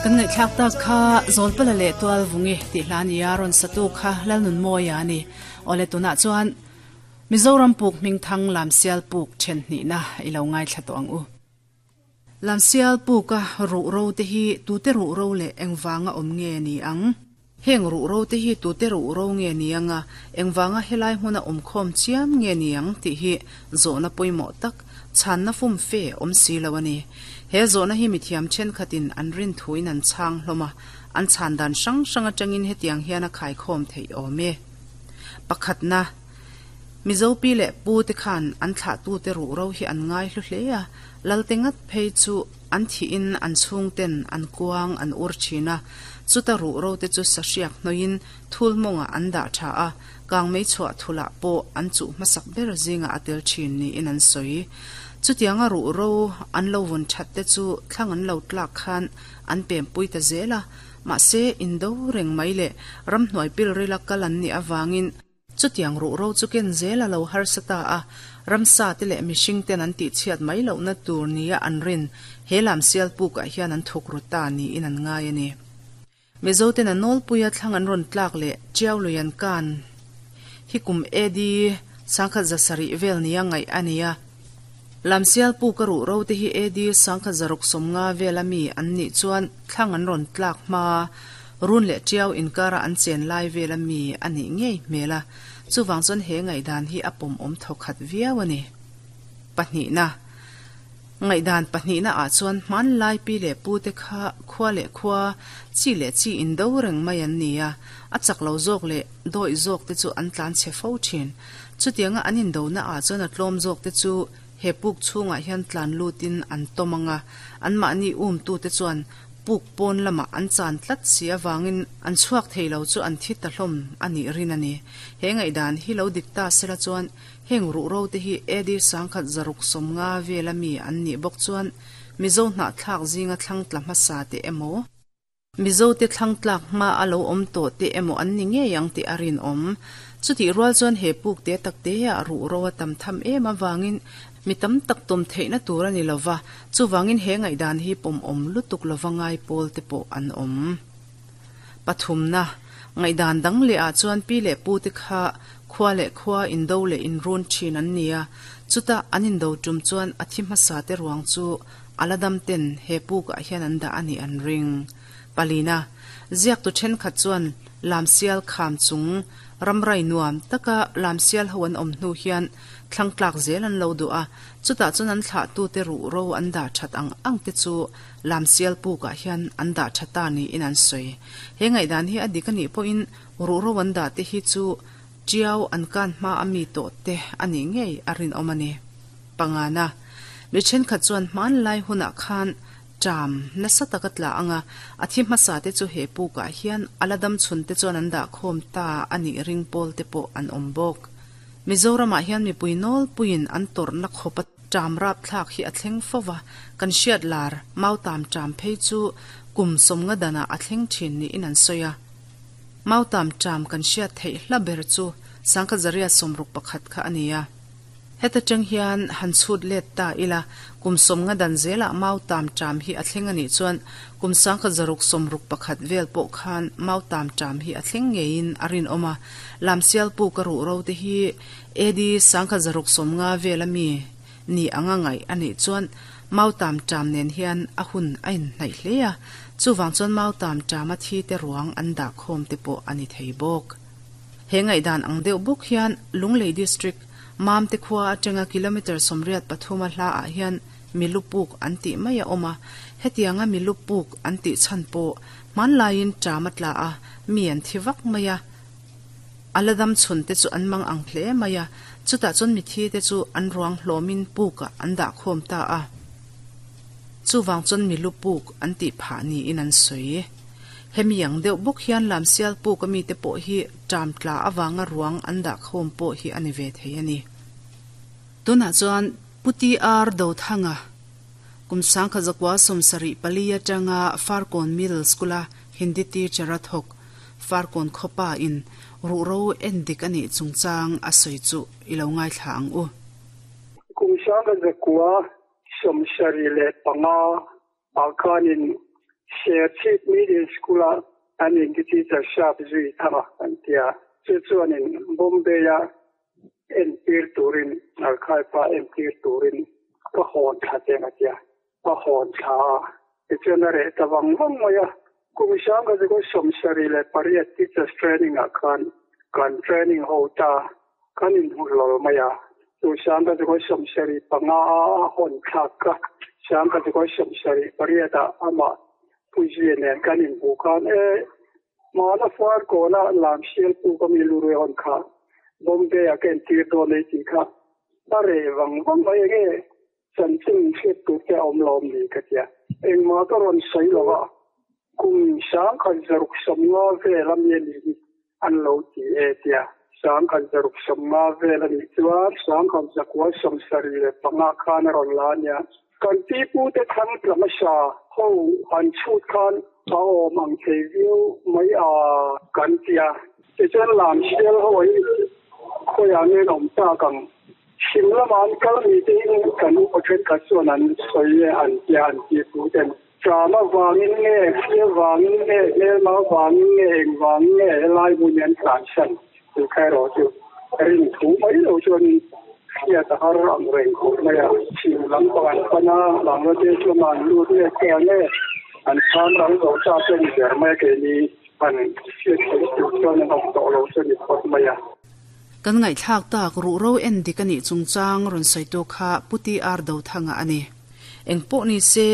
Kan ngaihthlak tak kha Zawlpala leh Tualvungi tih hla nia rawn satu kha Lalnunmawia a ni. Awle tunah chuan Mizoram puk hmingthang Lamsial puk then hnihna i lo ngaithla tawh ang u. Lamsial puka ruh ro te hi tute ruh ro leh engvanga awm nge ni ang? Heng ruh ro te hi tute ruh ro nge ni anga engvanga helai hmuna awm khawm chiam nge ni ang tih hi zawhna pawimawh tak, chhanna fum fe awm si lo a ni. He zawhna hi mithiam thenkhatin an rin thuin an chhang hlawm a, an chhan dan hrang hrang atangin hetiang hian a khaikhawm theih awm e. Pakhatna, Mizo pi leh pu te khan an thlahtute ruh ro hi an ngai hlu hle a, Lalte ngat phei chu an thihin an chhungten an kuang an ur thin a, chuta ruh ro te chu sahriak hnawiin thul mawngah an dah tha a, kangmei chhuah thulah pawh an chuh hmasak ber zingah a tel thin niin an sawi. Chutianga ruh ro an lo vun that te chu thlang an lo tlak khan an pempui ta zel a, mahse indo reng mai leh ramhnuai pilrila kal an nih avangin, Chutiang ruh ro chu ken zel a lo harsa ta a, ramsa te leh mihring ten an tihchhiat mai lohna tur nia an rin he lam sial pukah hian an thuk ru ta niin an ngai a ni. Mizo ten a nawlpuia thlang an rawn tlak leh Tiau lui an kan hi kum AD 1700 vel nia ngaih a ni a. Lamsial puka ruh ro te hi AD 1650 vela mi an nih chuan thlang an rawn tlak hma Run leh Tiau inkara an chen lai vela mi a nih ngei hmel a, chuvang chuan he ngaihdan hi a pawmawm thawkhat viau a ni. Pahnihna. Ngaihdan pahnihna ah chuan hmanlai pi leh pu te kha khua leh khua, chi leh chi indo reng mai an ni a, a chak lo zawk leh dawih zawk te chu an tlan chhe fo thin. Chutianga an indona ah chuan a tlawm zawk te chu he puk chhungah hian tlan lutin an tawm ang a, anmahni umtute chuan puk pawn lamah an chan tlat si avangin an chhuak thei lo chu an thi ta hlawm a nih rin a ni. He ngaihdan hi lo dik ta sela chuan heng ruhro te hi AD 1650 vela mi an nih bawk chuan Mizo hnahthlak zinga thlang tla hmasa te emaw, Mizote thlang tlak hma a lo awm tawh te emaw an ni ngei ang tih a rinawm. Chutih rual chuan he puk te tak te ah ruh ro a tam tham em avangin mi tam tak tawm theihna tur a ni lo va, chuvangin he ngaihdan hi pawmawm lutuk lova ngai pawl te pawh an awm. Pathumna, ngaihdan dang leh ah chuan pi leh pu te kha khua leh khua indo leh inrun thin an ni a, chuta an indo tum chuan a thi hmasa te ruang chu A la dam ten he pukah hian an dah a nih an ring. Palina, ziaktu thenkhat chuan Lamsial kham chung ramrai nuam taka Lamsial ho an awm hnu hian thlang tlak zel an lo duh a, chutah chuan an thlahtute ruh ro an dah that ang ang te chu Lamsial pukah hian an dah tha ta niin an sawi. He ngaihdan hi a dik a nih pawhin ruh ro an dah te hi chu Tiau an kan hma a mi tawh te a nih ngei a rinawm a ni. Pangana, mi thenkhat chuan hmanlai hunah khan ṭam nasa tak a tla ang a, a thi hmasa te chu he pukah hian a la dam chhun te chuan an dah khawm ta a nih ring pawl te pawh an awm bawk. Mizoramah hian mipui nawlpuiin an tawrhna khawpa ṭam rapthlak hi a thleng fo va, kan hriat lar mautam ṭam phei chu kum 50 danah a thleng ṭhin niin an sawi a. Mautam ṭam kan hriat theih hla ber chu 1961 kha a ni a. Heta ṭang hian han chhut let ta ila, kum 50 dan zelah mautam ṭam hi a thleng a nih chuan kum 1661 vel pawh khan mautam ṭam hi a thleng ngeiin a rinawm a. Lamsial puka ruh ro te hi AD 1650 vela mi ni anga ngaih a nih chuan mautam ṭam nen hian a hun a inhnaih hle a, chuvang chuan mautam ṭama thi te ruang an dah khawm te pawh a ni thei bawk. He ngaihdan ang deuh bawk hian Lunglei District, Mamte khua atanga kilometre 83 a hla ah hian milu puk an tih mai a awm a, hetianga milu puk an tih chhan pawh hmanlaiin ṭam a tla a, mi an thi vak mai a, A la dam chhun te chu an mang ang hle mai a, chutah chuan mithi te chu an ruang hlawmin pukah an dah khawm ta a. Chuvang chuan milu puk an tih phah niin an sawi. Hemi ang deuh bawk hian Lamsial puk a mite pawh hi ṭam tla avanga ruang an dah khawm pawh hi a ni ve thei a ni. Tunah chuan Pu TR Dothanga kum 1974 atanga Farkawn Middle School-a Hindi teacher a thawk Farkawn khawpa in ruhro en dik a nih chungchang a sawi chu i lo ngaithla ang u. Kum 1975 ah khanin. Serchhip Middle School-a an inti teacher sharp zui thang a an ti a, chu chuanin Bombay-a entir turin, Archive-a entir turin ka hawn thla cheng a ti a, ka hawn thla a, tichuan a reh ta vang vang mai a. Kum 1978 Teachers Training-ah khan kan training ho ta, kan inhmu hlawl mai a. Chu 1975 a hawn thlak ka, 1978 ah amah Puizia nen kan inhmuh khan e, hmana far kawna lam sial puk ami lu rui hawn kha Bombay-ah ka entir dawn ei tih kha a reh vang vang mai enge chanchin hriat tur te a awm lo awm ni ka tia. Engmah ka rawn sawi lo a, kum 1650 vel ami a nih hi an lo ti e tia. 1650 vel a nih chuan 1975 khan a rawn la a nia. Kan pi pute thlang tla hmasa ho han chhut khan a awm ang thei viau mai a kan tia. Tichuan lam sial ho hi khawiah nge an awm tak ang? Chhim lama an kal ni te in kan upa thenkhat chuan an sawi e an tia an pi puten. Ṭam avangin nge, hria vangin nge, hmelma avangin nge, eng vangin nge helai hmun hi an tlansan tih kha erawh chu rin thu mai lo chuanin hriat a har ang reng khawp mai a. Chhim lam pang an pan a, Bangladesh lamah an lut nge kha nge an chhang ral zo ta te a ni ber mai a, keini han hriat theih tur chuan an awm tawh lo chu a ni phawt mai a. Kan ngaihthlak tak ruhro en dik a nih chungchang rawn sawitu kha Pu TR Dothanga a ni. Eng pawh ni se,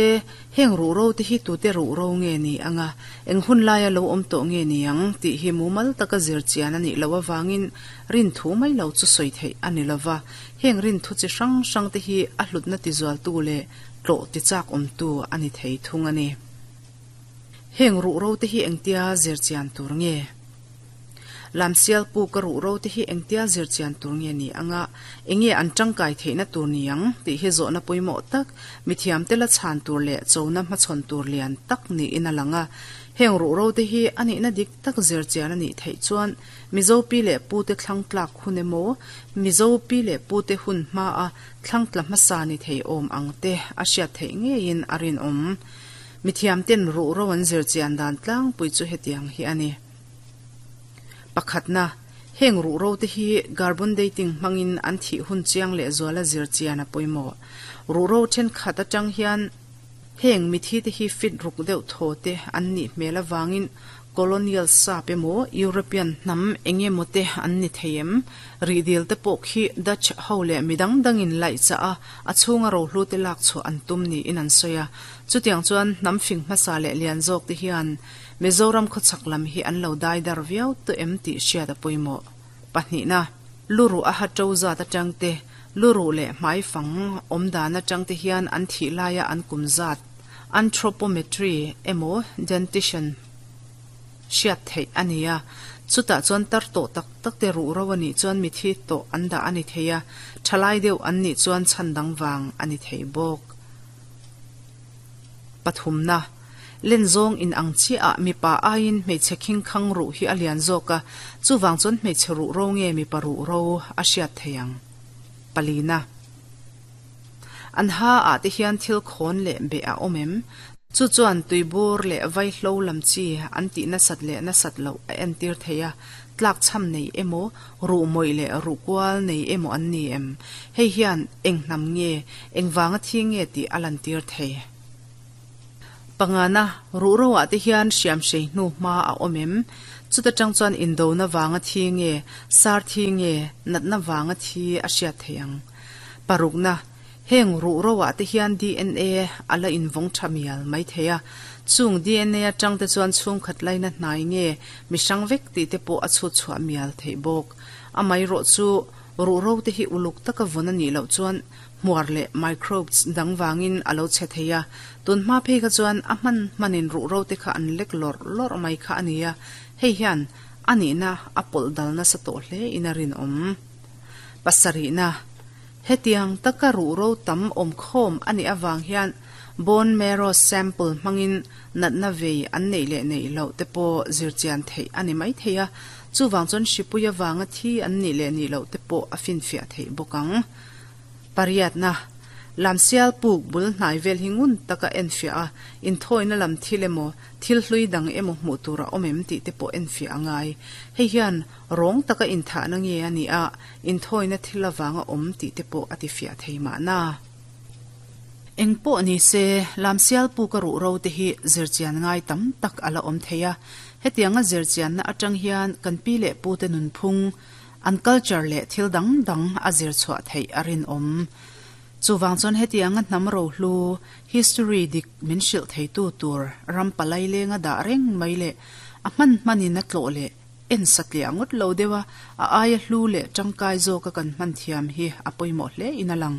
heng ruhro te hi tute ruhro nge ni ang a, eng hun laia lo awm tawh nge ni ang tih hi mumal taka zir chian a nih loh avangin rin thu mai lo chu sawi theih a ni lova. Heng rin thu chi hrang hrang te hi a hlutna tizualtu leh tlawh tichak awmtu a ni thei thung a ni. Heng ruhro te hi engtia zir chian tur nge? Lamsial pu ka ruh ro te hi engtia zir chian tur nge ni anga, enge an tangkai theihna tur ni ang tih hi zawhna pawimawh tak, mithiam te la chhan tur leh chona hmachhawn tur lian tak niin a lang a. Heng ruh ro te hi a nihna dik tak zir chian a nih theih chuan Mizo pi leh pu te thlang tlak hun emaw, Mizo pi leh pu te hun hmaa thlang tla hmasa ni thei awm ang te a hriat theih ngeiin a rinawm. Mithiam ten ruh ro an zir chian dan tlangpui chu hetiang hi a ni. Pakhatna, heng ruhro te hi carbon dating hmangin an thih hun chiang lehzual a zir chian a pawimawh. Ruhro thenkhat atang hian heng mithi te hi fit ruk deuh thaw te an nih hmel avangin colonial sap emaw European hnam eng emaw te an ni thei em? Rihdil te pawh khi Dutch ho leh midang dangin laih chah a, a chhunga rohlu te lak chhuah an tum niin an sawi a. Chutiang chuan hnam fing hmasa leh lian zawk te hian Mizoram khawchhak lam hi an lo dai dar viau tawh em tih hriat a pawimawh. Pahnihna, luruh a ha to zat atang te, luruh leh hmaifang awm dan atang te hian an thih laia an kum zat, anthropometry, emaw dentition hriat theih a ni a. Chutah chuan tar tawh tak tak te ruh ro a nih chuan mithi tawh an dah a ni thei a, thalai deuh an nih chuan chhan dang vang a ni thei bawk. Pathumna, Len zawng in ang chiah ah mipa aiin hmeichhe khing khang ruh hi a lian zawk a, chuvang chuan hmeichhe ruh ro nge mipa ruh ro a hriat thei ang. Palina, An ha ah te hian thil khawn leh beh a awm em? Chu chuan tuibur leh vaihlo lam chi an tih nasat leh nasat loh a entir thei a, tlak chham nei emaw, ruh mawih leh ruh kual nei emaw an ni em? Hei hian eng hnam nge, eng vanga thi nge tih a lantir thei. Pangana, ruh roah te hian hriamhrei hnu hma a awm em? Chuta tang chuan indona vanga thi nge, sar thi nge, natna vanga thi a hriat thei ang. Parukna, heng ruh roah te hian DNA a la invawng tha mial mai thei a, chung DNA atang te chuan chhungkhat laina hnai nge mi hrang vek tih te pawh a chhut chhuah mial theih bawk. Amaherawh chu ruh ro te hi uluk taka vawn a nih loh chuan hmuar leh microbes dang vangin a lo chhe thei a, tun hma phei kha chuan a hman hmanin ruh ro te kha an lek lawrh lawrh mai kha a ni a, hei hian a nihna a pawlh dal nasa tawh hle in a rinawm. Pasarihna, Hetiang taka ruh ro tam awm khawm a nih avang hian bone marrow sample hmangin natna vei an neih leh neih loh te pawh zirchian theih a ni mai thei a, chuvang chuan hripui avanga thi an nih leh nih loh te pawh a finfiah theih bawk ang. Pariatna, Lamsial puk bul hnai vel hi ngun taka enfiah a, inthawina lam thil emaw, thil hlui dang emaw hmuh tur a awm em tih te pawh enfiah a ngai. Hei hian rawng taka inthahna nge a nih a, inthawina thil avanga awm tih te pawh a tifiah thei mahna. Eng pawh ni se, Lamsial puka ruh ro te hi zirchian ngai tam tak a la awm thei a. Hetianga zirchianna atang hian kan pi leh pute nunphung, an culture leh thil dang dang a zir chhuah theih a rinawm. Chuvang chuan hetianga hnam rohlu, history dik min hrilh theitu tur ram palai lenga dah reng mai leh a hman hmanin a tlawh leh en satliah ngawt lo deuh a, a aia hlu leh tangkai zawka kan hman thiam hi a pawimawh hle in a lang.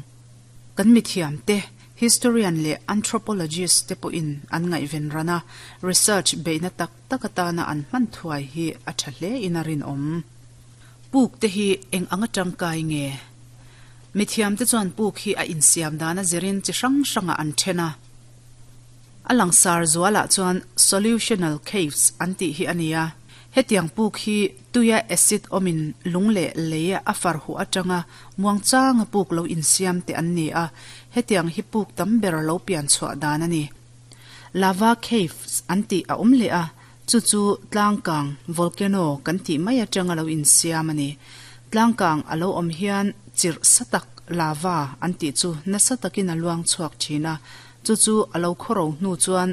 Kan mithiam te, historian leh anthropologist te pawhin an ngaihven ran a, research beihna tak tak atana an hman thuai hi a tha hle in a rinawm. Puk te hi eng anga tangkai nge? Mithiam te chuan puk hi a insiam dan a zirin chi hrang hrangah an then a. A langsar zualah chuan solutional caves an tih hi a ni a. Hetiang puk hi tuia acid awmin lung leh lei a far huh atanga muangchanga puk lo insiam te an ni a, hetiang hi puk tam ber lo pian chhuah dan a ni. Lava caves an tih a awm leh a, chu chu tlangkang, volcano, kan tih mai atanga lo insiam a ni. Tlangkang a lo awm hian chirh sa tak, lava, an tih chu nasa takin a luang chhuak thin a, chu chu a lo khawro hnu chuan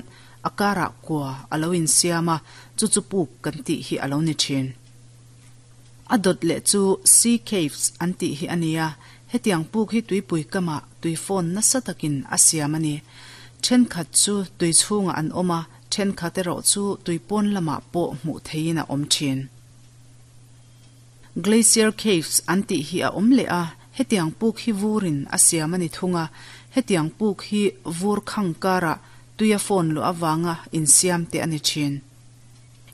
a karah kua a lo insiam a, chu chu puk kan tih hi a lo ni thin. A dawt leh chu Sea Caves an tih hi a ni a, hetiang puk hi tuipui kamah tui fawn nasa takin a siam a ni. Thenkhat chu tui chhungah an awm a, thenkhat erawh chu tui pawn lamah pawh hmuh theihin a awm thin. Glacier Caves an tih hi a awm leh a, hetiang puk hi vurin a siam a ni thung a, hetiang puk hi vur khang karah tuia fawn luah avanga insiam te a ni thin.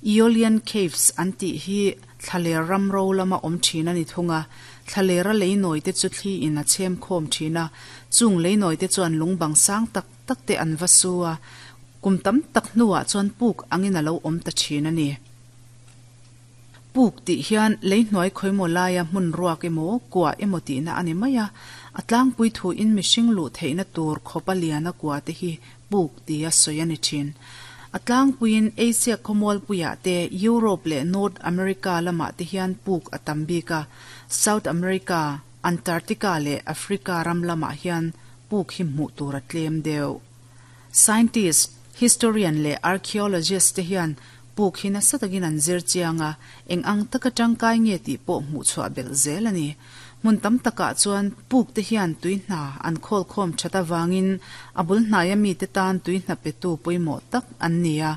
Aeolian Caves an tih hi thlaler ram ro lama awm thin a ni thung a, thlalera leinawi te chu thli in a chhem khawm thin a, chung leinawi te chuan lung bang sang tak tak te an va su a, kum tam tak hnuah chuan puk angin a lo awm ta thin a ni. Puk tih hian leihnuai khawimaw laia hmun ruak emaw, kua emaw tihna a ni mai a, a tlangpui thuin mihring luh theihna tur khawpa liana kua te hi puk tia sawi a ni thin. A tlangpuiin Asia khawmualpuiah te, Europe leh North America lamah te hian puk a tam bik a, South America, Antarctica leh Africa ram lamah hian puk hi hmuh tur a tlem deuh. Scientist, historian leh archaeologist te hian puk hi nasa takin an zir chiang a, eng ang taka tangkai nge tih pawh hmuh chhuah belh zel a ni. Hmun tam takah chuan puk te hian tui hna an khawl khawm that avangin a bul hnaia mite tan tui hna petu pawimawh tak an ni a.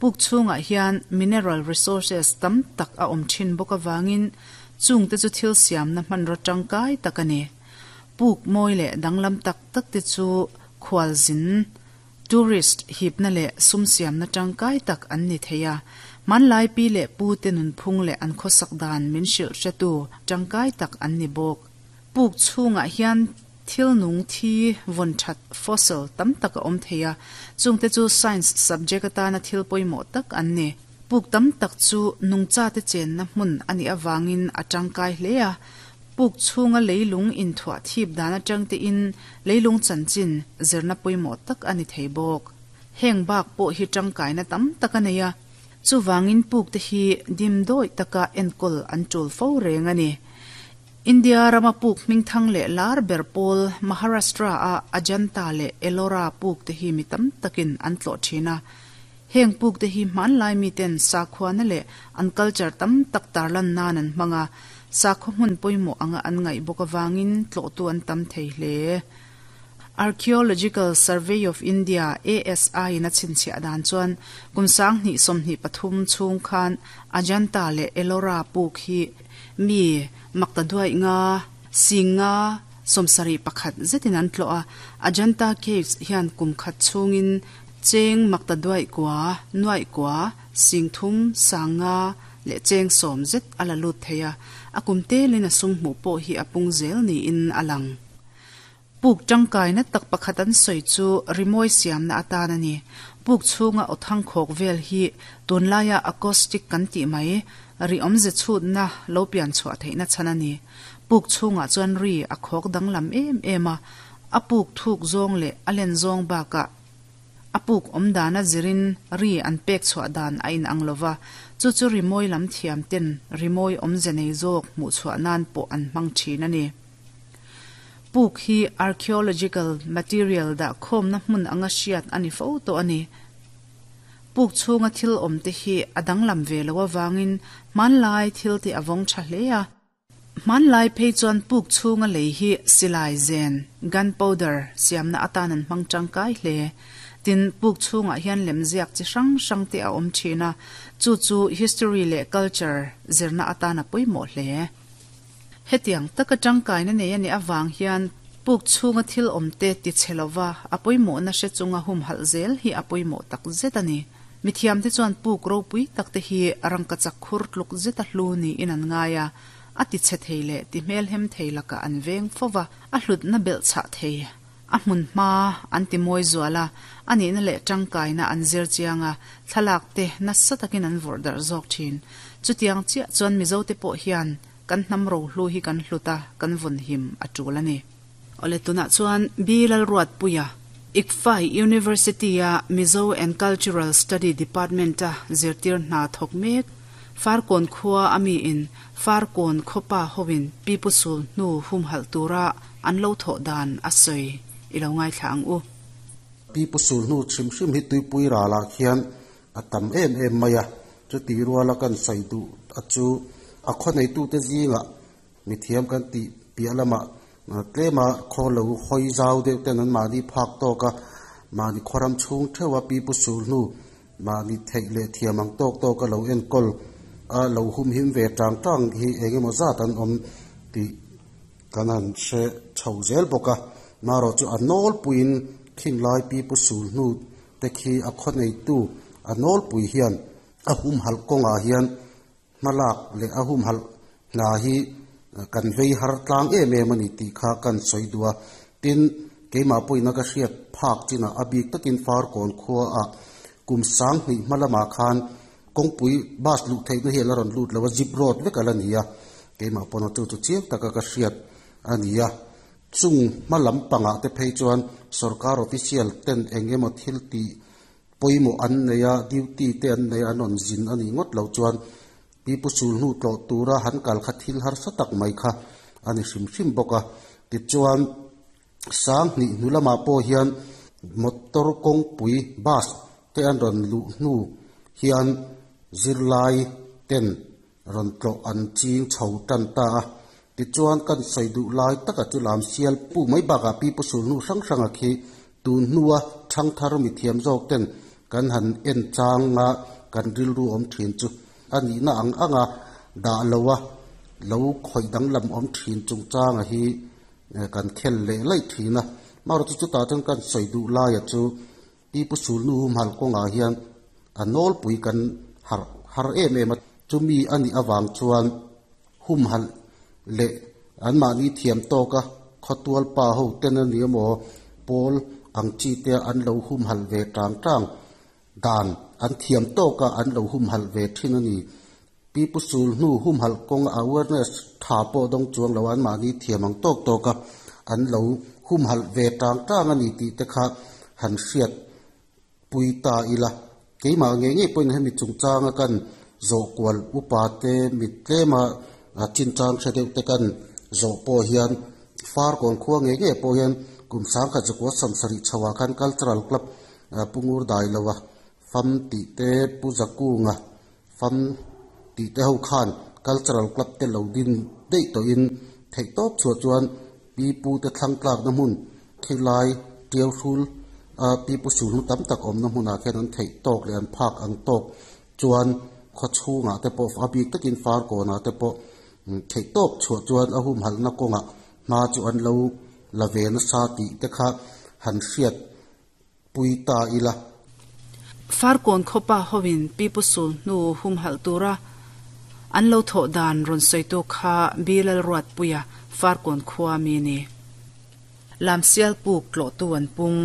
Puk chhungah hian mineral resources tam tak a awm thin bawk avangin chungte chu thil siamna hmanraw tangkai tak a ni. Puk mawi leh danglam tak tak te chu khualzin, tourist, hipna leh sum siamna tangkai tak an ni thei a. Hmanlai pi leh pu te nunphung leh an khawsak dan min hrilh hretu tangkai tak an ni bawk. Puk chhungah hian thil nung thi vawn that, fossil, tam tak a awm thei a, chungte chu science subject atana thil pawimawh tak an ni. Puk tam tak chu nungchate chenna hmun a nih avangin a tangkai hle a, Puk chhunga leilung inthuah thip dan atang tein leilung chanchin zirna pawimawh tak a ni thei bawk. Heng bak pawh hi tangkaina tam tak a nei a, chuvangin puk te hi dim dawih taka enkawl an tul fo reng a ni. India rama puk hmingthang leh lar ber pawl Maharashtra a Ajanta leh Ellora puk te hi mi tam takin an tlawh thin a. Heng puk te hi hmanlai miten sakhuana leh an culture tam tak tarlan nan an hmang a, sakhaw hmun pawimawh anga an ngaih bawk avangin tlawhtu an tam thei hle. Archaeological Survey of India, ASI, in a chhinchhiah dan chuan kum 2023 chhung khan Ajanta leh Ellora puk hi mi maktaduaih nga, sing nga, 71 zetin an tlawh a, Ajanta Caves hian kum khat chhungin Cheng makta duaih kua, nuaih kua, singthum, sanga leh cheng sawm zet a la lut thei a, a kum telin a sum hmuh pawh hi a pung zel niin a lang. Puk tangkaina tak pakhat an sawi chu rimawi siamna atan a ni. Puk chhunga aw thangkhawk vel hi tunlaia acoustic kan tih mai, ri awmze chhutna lo pian chhuah theihna chhan a ni. Puk chhungah chuan ri a khawk danglam em em a. A puk thuk zawng leh a len zawng bakah a puk awm dana zirin ri an pek chhuah dan a inang lo va, chu chu rimawi lam thiam ten rimawi awmze nei zawk hmuh chhuah nan pawh an hmang thin a ni. Puk hi archaeological material dah khawmna hmun anga hriat a ni fo tawh a ni. Puk chhunga thil awm te hi a danglam ve lo avangin hmanlai thil te a vawng tha hle a. Hmanlai phei chuan puk chhunga lei hi silai zen, gun powder, siamna atan an hmang tangkai hle. Tin, puk chhungah hian lemziak chi hrang hrang te a awm thin a, chu chu history leh culture zirna atan a pawimawh hle. Hetiang taka tangkaina nei a nih avang hian puk chhunga thil awmte ti chhe lova a pawimawhna hre chunga humhalh zel hi a pawimawh tak zet a ni. Mithiamte chuan puk ropui takte hi rangkachak khur tluk zeta hlu niin an ngai a, a ti chhe thei leh ti hmelhem thei lakah an veng fo va, a hlutna belh chhah thei. A hmun hma an ti mawi zual a, a nihna leh tangkaina an zir chiang a, thlalak te nasa takin an vawrh darh zawk thin. Chutiang chiah chuan Mizote pawh hian kan hnam rohlu hi kan hlut a, kan vawn him a tul a ni. Awle tunah chuan B Lalruatpuia, ICFAI University-a Mizo and Cultural Study Department-a zirtir hna thawk mek, Farkawn khua a miin Farkawn khawpa hoin Pipu Sul hnu humhalh tura an lo thawh dan a sawi i lo ngaithla ang u. Pipu Sul hnu hrim hrim hi tuipui ralah khian a tam em em mai a, chuti ruala kan sawi duh a chu a khaw neitute zingah mithiam kan tih piah lamah tlema khaw lo hawi zau deuh ten an mahni phak tawk a, mahni khawram chhung theuh a Pipu Sul hnu Mahni theih leh thiam ang tawk tawk a lo enkawl a lo humhim ve tang tang hi eng emaw zat an awm tih kan han hre chho zel bawk a. Marawh chu a nawlpuiin khinglai pipu sul hnu te khi a khaw neitu a nawlpui hian a humhalh kawngah hian hmalak leh a humhalh hna hi kan vei har tlang em em a ni tih kha kan sawi duh a. Tin, keimah pawhin a ka hriat phak chinah a bik takin Farkawn khuaah kum 2000 hma lamah khan kawngpui bus luh theihna hi a la rawn lut lo a, zip road vek a la ni a. Keimah pawn a chu chu chiang taka ka hriat a ni a. Chung hma lam pangah te phei chuan sorkar official ten eng emaw thil tih Pawimawh an nei a, duty te an nei a, an rawn zin a nih ngawt loh chuan pipu sul hnu tlawh tura han kal kha thil harsa tak mai kha a ni hrim hrim bawk a. Tichuan, 2000 hnu lamah pawh hian motor kawngpui, bus, te an rawn luh hnu hian zirlai ten rawn tlawh an ching chho tan ta a. Tichuan kan sawi duh lai taka chu lam sial pu mai bakah pipu sul hnu hrang hranga khi tun hnua thangthar mithiam zawk ten kan han en changa kan rilru awm thin chu a nihna ang anga dah loa lo khawih danglam awm thin chungchanga hi kan khel leh laih thin a. Marawh chu chutah chuan kan sawi duh laia chu Pipu sulnu humhalh kawngah hian a nawlpui kan harh har em em a, chumi a nih avang chuan humhalh leh anmahni thiam tawka khawtual pa ho ten a ni emaw pawl ang chi te an lo humhalh ve tang tang dan an thiam tawka an lo humhalh ve thin a ni. Pipu sulhnu humhalh kawng awareness tha pawh dawng chuang lo anmahni thiam ang tawk tawka an lo humhalh ve tang tang a ni tih te kha han hriat pui ta ila. Keimah ngei ngei pawhin hemi chungchanga kan zawh kual upa te mit tlema chinchang hre deuh te kan zawh pawh hian Farkawn khua ngei ngei pawh hian kum 1900 sawmsarih chho ah khan Cultural Club Pu Ngur Dailoa fam tih te Pu Zakunga Fam tih te ho khan Cultural Club te lo din daih tawhin theih tawp chhuah chuan pipu te thlang tlakna hmun khilai tiau hrul a pipu sulhnu tam tak awmna hmunah khian an theih tawk leh an phak ang tawk chuan khaw chhungah te pawh a bik takin farkawnah te pawh theih tawp chhuah chuan a humhalhna kawngah hma chu an lo la ve nasa tih te kha han hriat pui ta ila. Farkawn khawpa hoin Pipu Sul hnu humhalh tura an lo thawh dan rawn sawitu kha Bilal Ruatpuia Farkawn khua mi ni. Lamsial puk tlawhtu an pung.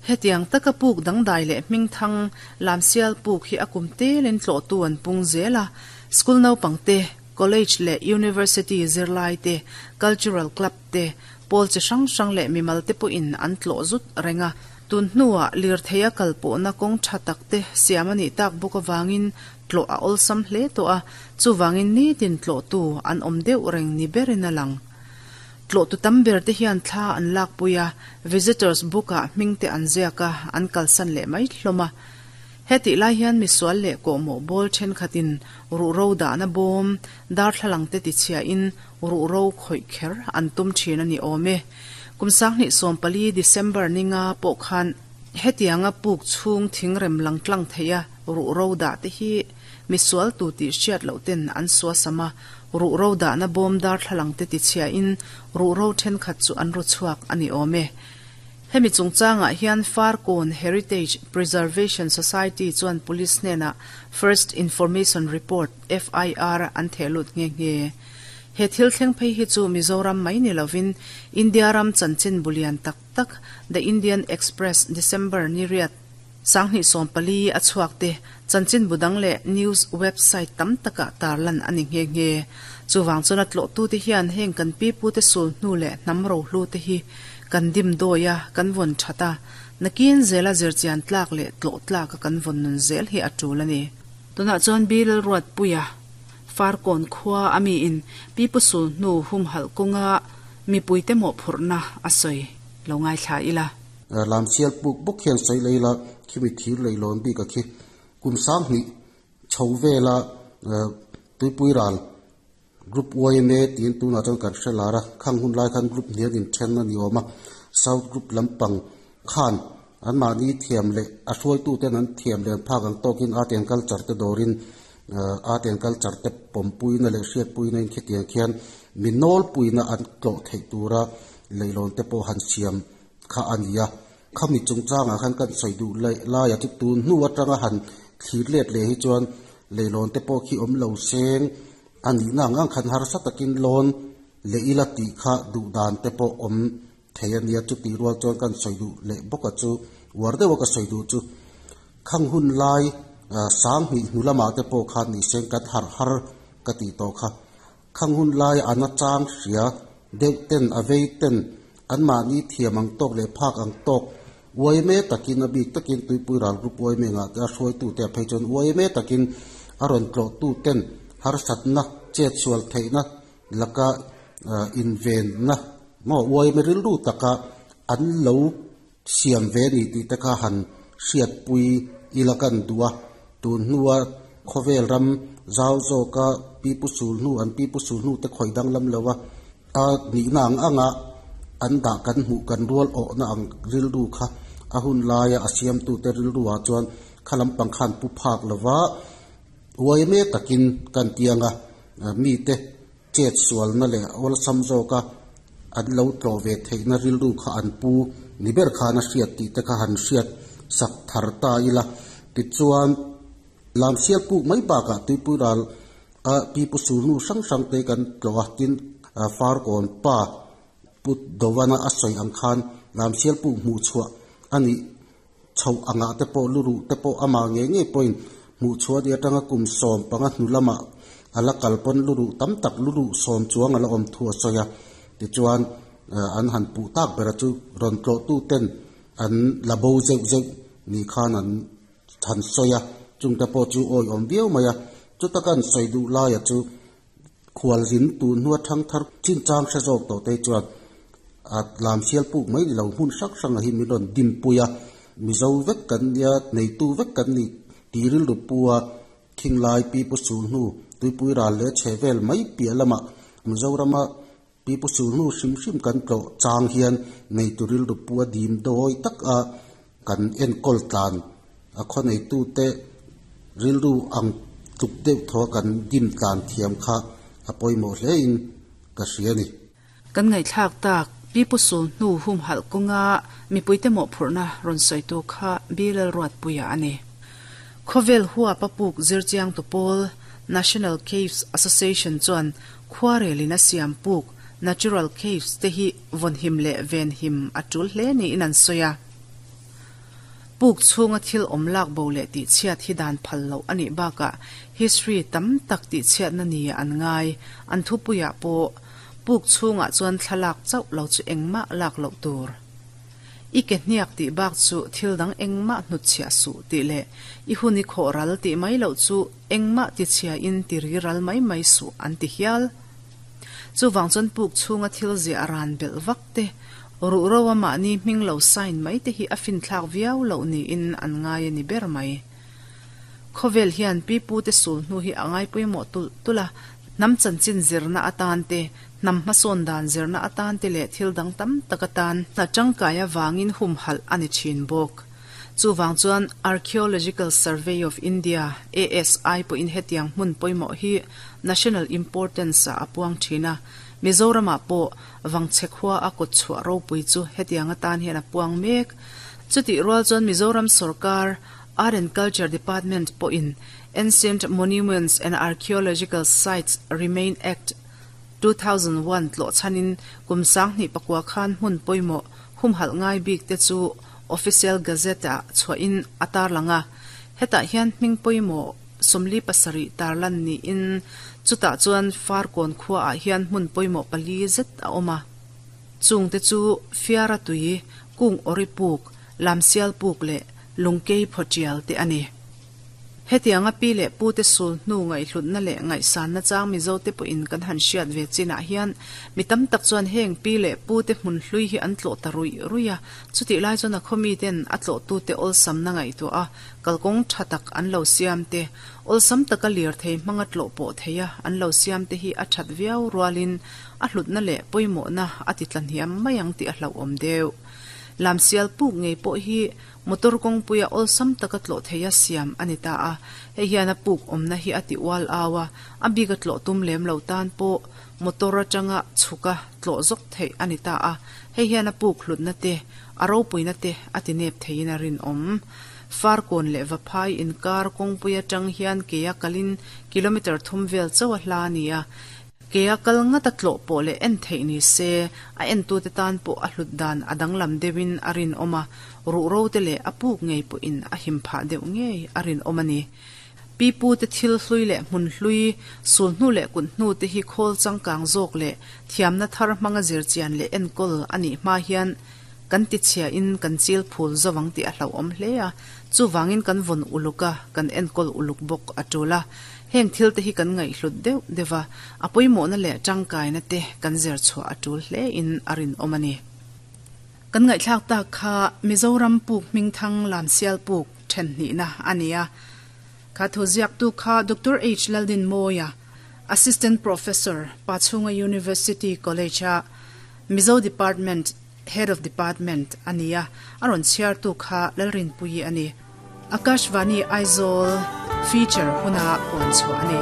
Hetiang taka puk dangdai leh hmingthang Lamsial puk hi a kum telin tlawhtu an pung zel a, school naupangte, college leh university zirlai te, cultural club te, Pawl chi hrang hrang leh mimal te pawhin an tlawh zut reng a. Tun hnuah lirtheia kal pawhna kawng tha tak te siam a nih tak bawk avangin tlawh a awlsam hle tawh a, chuvangin nitin tlawhtu an awm deuh reng ni berin a lang. Tlawhtu tam ber te hian thla an lakpui a, visitors book ah hming te an ziak a, an kalsan leh mai hlawm a. Hetih lai hian misual leh kawhmawh bawl thenkhatin ruhro dahna bawm, darthlalang te tichhiahin ruhro khawih kher an tum thin a ni awm e. Kum 2014 December ninga pawh khan hetianga puk chhung thingrem lang tlang theia ruhro dah te hi misual tu tih hriat loh ten an suasam a, ruhro dahna bawm darthlalang te tichhiahin ruhro thenkhat chu an ru chhuak a ni awm e. Hemi chungchangah hian Farkawn Heritage Preservation Society chuan Police hnenah First Information Report, FIR, an theh lut nghe nghe. He thil thleng phei hi chu Mizoram mai ni lovin India ram chanchin bu lian tak tak The Indian Express December ni riat 2014 a chhuak te chanchin bu dang leh news website tam takah tarlan a ni nghe nghe. Chuvang chuan a tlawhtute hian heng kan pipute sul hnu leh hnam rohlu te hi kan dim dawi a, kan vawn that a, nakin zela zirchian tlak leh tlawh tlaka kan vawn nun zel hi a tul a ni. Tunah chuan Bill Ruatpuia, Farkawn khua a miin pipu sul hnu humhalh kawnga mipuite mawhphurhna a sawi lo ngaithla ila. Lamsial puk bawk hian sawi lei la, khimi thir lei lawn bik a khi. Kum 2000 chho vela tuipui ral Group yma tiin tunah chuan kan hre lar a, khang hun lai khan group hnian inthen a ni awm a, South Group lampang khan anmahni thiam leh a hruaituten an thiam leh an phak ang tawkin art and culture te dawrin art and culture te pawmpuina leh hriatpuina in khitiang khian mi nawlpuina an tlawh theih tura leilawn te pawh han siam kha a ni a. Khami chungchangah khan kan sawi duh laia chu tun hnu atanga han thlir let leh hi chuan leilawn te pawh khi awm lo seng a nihna ang ang khan harsa takin lawn leh ila tih kha duh dan te pawh awm thei a nia. Chutih rual chuan kan sawi duh leh bawk a chu uar deuha ka sawi duh chu khang hun lai 2000 hnu lamah te pawh khan ni seng kan harh har ka tih tawh kha. Khang hun lai a nachang hria deuh ten a vei ten anmahni thiam ang tawk leh phak ang tawk uaime takin a bik takin tuipui ral group uaime ngah te a hruaitute a phei chuan uaime takin a rawn tlawhtu ten harsatna chet sual theihna laka invenna maw uaime rilru taka an lo siam ve ni tih te kha han hriatpui ila kan duh a, tun hnua khawvel ram zau zawka pipu sul hnu an pipu sul hnu te khawi danglam lo a, a nihna ang anga an dah kan hmuh kan rual awhna ang rilru kha a hun laia a siamtute rilruah chuan kha lampang khan pu phak lova uaime takin kan tiang a, mite chet sualna leh awlsam zawka an lo tlawh ve theihna rilru kha an pu ni ber khan a hriat tih te kha han hriat sak thar ta ila. Tichuan, Lamsial puk mai bakah tuipui ral a pipu sulhnu hrang hrang te kan tlawh a, tin Farkawn pa Pu Dovana a sawi ang khan Lamsial puk hmuh chhuah a nih chhoh angah te pawh luruh te pawh amah ngei ngei pawhin hmuh chhuah ni atanga kum 15 hnu lamah a la kal pawn luruh tam tak luruh 10 chuang a la awm thu a sawi a. Tichuan an han puh tak bera chu rawn tlawhtu ten an la bo zeuh zeuh ni khan an han sawi a, chungte pawh chu awi awm viau mai a. Chuta kan sawi duh laia chu khualzin tun hnua thangthar chinchang hre zawk tawh te chuan a lamsial puk mai ni lo hmun hrang hrangah hi min rawn dimpui a, Mizo vek kan nia, neitu vek kan ni tih rilru pu a, Khinglai pipu sul hnu tuipui ral leh chhe vel mai piah lamah Mizorama pipu sul hnu hrim hrim kan tlawh chang hian neitu rilru pu a dim dawi tak a kan enkawl tlan a khaw neitute rilru ang tluk deuh thaw a kan dim tlan thiam kha a pawimawh hle in ka hria a ni. Kan ngaihthlak tak pipu sul hnu humhalh kawnga mipuite mawhphurhna rawn sawitu kha Bill Ruatpuia a ni. Khawvel huap a puk zirchiang tu pawl National Caves Association chuan khuarelin a siam puk Natural Caves te hi vawnhim leh venhim a tul hle niin an sawi a. Puk chhunga thil awm lak bo leh tihchhiat hi dan phal loh a nih bakah history tam tak tihchhiatna ni an ngai. An thupuiah pawh. Puk chhungah chuan thlalak chauh lo chu engmah lak loh tur. I ke hniak tih bak chu thil dang engmah hnutchhiah suh tih leh i hun i khawh ral tih mai loh chu engmah tichhia in ti ri ral mai mai suh an ti hial. Chuvang chuan puk chhunga thil ziah ran belh vak te, ruhro a mahni hming lo sign mai te hi a finthlak viau loh niin an ngai a ni ber mai. Khawvel hian pi pute sul hnu hi a ngai pawimawh tulh tulh a, hnam chanchin zirna atan te, hnam hmasawn dan zirna atan te leh thil dang tam tak atan hna tangkai avangin humhalh a ni thin bawk. Chuvang chuan Archaeological Survey of India, ASI, pawhin hetiang hmun pawimawh hi national importance ah a puang thin a, Mizoramah pawh Vangchhe khua a kawtchhuah ropui chu hetiang atan hian a puang mek. Chutih rual chuan Mizoram sorkar Art and Culture Department pawhin Ancient Monuments and Archaeological Sites Remain Act, 2001 tlawh chhanin kum 2009 khan hmun pawimawh humhalh ngai bik te chu Official Gazette ah chhuahin a tarlang a. Hetah hian hming pawimawh 47 tarlan niin chutah chuan Farkawn khuaah hian hmun pawimawh pali zet a awm a. Chungte chu Fiara tui, Kung Awri puk, Lamsial puk leh Lungkei phawtial te a ni. Hetianga pi leh pute sul hnu ngaihhlutna leh ngaihsanna chang Mizote pawhin kan han hriat ve chinah hian mi tam tak chuan heng pi leh pute hmun hlui hi an tlawh ta ruih ruih a, chutih lai chuan a khaw miten a tlawhtute awlsamna ngaihtuah a, kalkawng tha tak an lo siam te, awlsam taka lirthei hmanga tlawh pawh theia an lo siam te hi a that viau rualin a hlutna leh pawimawhna a ti tlahniam mai ang tih a hlauhawm deuh. Lamsial puk ngei pawh hi Motor kawngpuia awlsam taka tlawh theia siam a ni ta a, hei hian a puk awmna hi a ti ual au a, a bik a tlawh tum lem lo tan pawh motor atanga chhuka tlawh zawk theih a ni ta a, hei hian a puk hlutna te, a ropuina te a ti nep theiin a rinawm. Farkawn leh Vaphai inkar kawngpui atang hian kea kalin kilometre thum vel chauh a hla a ni a, Kea kal ngat a tlawh pawh leh en theih ni se, a entute tan pawh a hlut dan a danglam deuhin a rinawm a, ruhro te leh a puk ngei pawhin a him phah deuh ngei a rinawm a ni. Pi pute thil hlui leh hmun hlui, sul hnu leh kut hnu te hi khawl changkang zawk leh thiamna thar hmanga zirchian leh enkawl a nih hma hian kan tichhiain kan chil phul zo ang tih a hlauhawm hle a, chuvangin kan vawn uluk a, kan enkawl uluk bawk a tul a. Heng thil te hi kan ngaihhlut deuh deuh a, a pawimawhna leh tangkaina te kan zir chhuah a tul hle in a rinawm a ni. Kan ngaihthlak tak kha Mizoram puk hmingthang Lamsial puk then hnihna a ni a. Kha thu ziaktu kha Doctor H Laldinmawia, Assistant Professor, Pachhunga University College-a Mizo Department Head of Department a ni a, a rawn chhiartu kha Lalrinpuii a ni. Akashvani Aizawl feature huna puan chhuah a ni.